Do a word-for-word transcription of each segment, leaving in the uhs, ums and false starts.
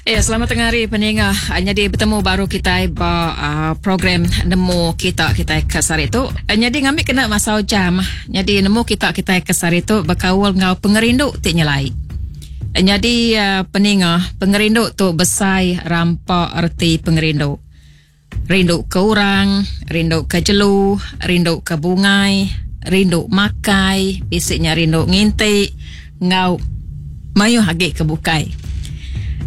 Ya, selamat tengah hari peninga. Jadi betemu baru kita ba uh, program Nemu Kita Kita ke sehari tu. Jadi ngambil kena masa jam. Jadi nemu kita kita ke sehari tu bekaul ngau pengerindu ti nyelai. Jadi uh, peninga, pengerindu tu besai rampa erti pengerindu. Rindu ke orang, rindu ke jelu, rindu ke bungai, rindu makai, bisiknya rindu nginti, ngau mayuh agi ke bukai.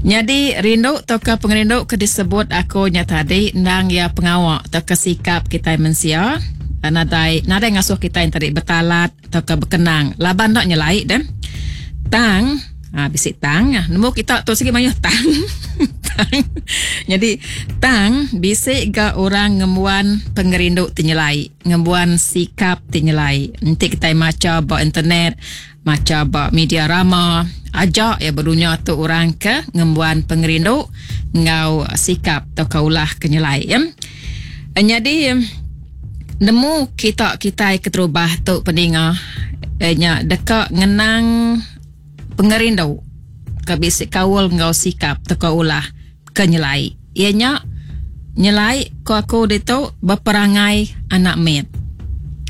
Jadi rindu atau ke pengerindu ke disebut aku nya tadi endang ya pengawa atau ke sikap kita mensia nadai nadai ngasuh kita yang tadi betalat atau ke berkenang laban dak nyelai deh. Tang ha, bisik tang nemu kita tu segi mayuh tang. Tang. Jadi tang bisik ga orang ngembuan pengerindu ti nyelai, ngembuan sikap ti nyelai. Nanti kita maca ba internet, maca ba media rama, ajak ya berdunia tu orang ke ngembuan pengerindu ngau sikap atau kaulah ke nyelai ya. Jadi nemu kita kita keterubah tu peninga nya deka ngenang pengerindu ke bisik kaul ngau sikap atau kaulah ke nyelai. Ianya nyelai ko aku ditu berperangai anak mit.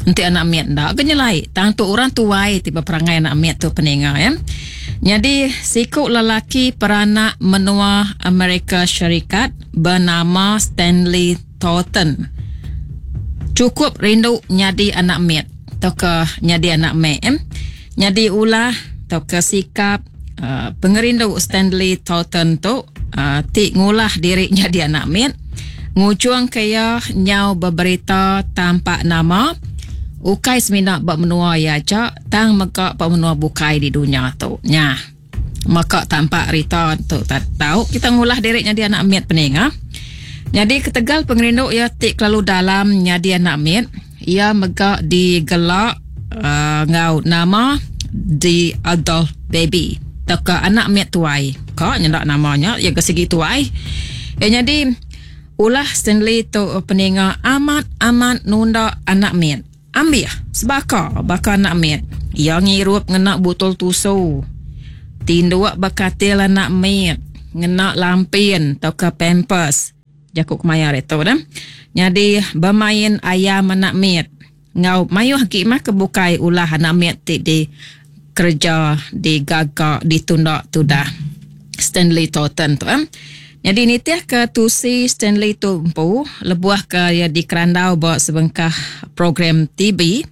Nanti anak mit ndak ke nyelai, tang tu orang tuai ti berperangai anak mit tu peninga ya. Jadi siku lelaki peranak menua Amerika Syarikat bernama Stanley Thornton. Cukup rindu nyadi anak mit atau ke nyadi anak mek. Eh? Nyadi ulah atau ke sikap uh, pengerindu Stanley Thornton tu uh, ti ngulah diri nyadi anak mit. Ngujung kaya nyau berberita tampak nama ukai semina bak menua ya aja tang mega bak menua bukai di dunia tu. Nya. Maka tampak rita tu tak tahu kita ngulah diri nyadi anak mit peninga. Jadi ketegal pengerindu ia ti kelalu dalam nyadi anak mit, ia mega digelak uh, ngau nama The Adult Baby. Teka anak mit tuai. Ka nyendak namanya ia ke segi tuai. Eh jadi ulah Stanley tu peninga amat-amat nunda anak mit. Ambil sebaka baka anak mit. Ia ngirup ngena botol tusu. Tinduk bakatil anak mit, ngena lampin atau ke pampers. Jakuk kemaya itu dah. Jadi bermain ayam anak mit. Ngau mayuh ki mah kebukai ulah anak mit ti di kerja digagak ditunda tu dah. Stanley Thornton tu eh. Jadi nitiah ke tusi Stanley tu empu lebuah ke ia di Kerandau buat sebengkah program T V.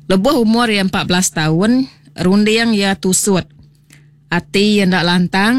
Lebuah umur ia empat belas tahun, runding ia tusut. Ati ia ndak lantang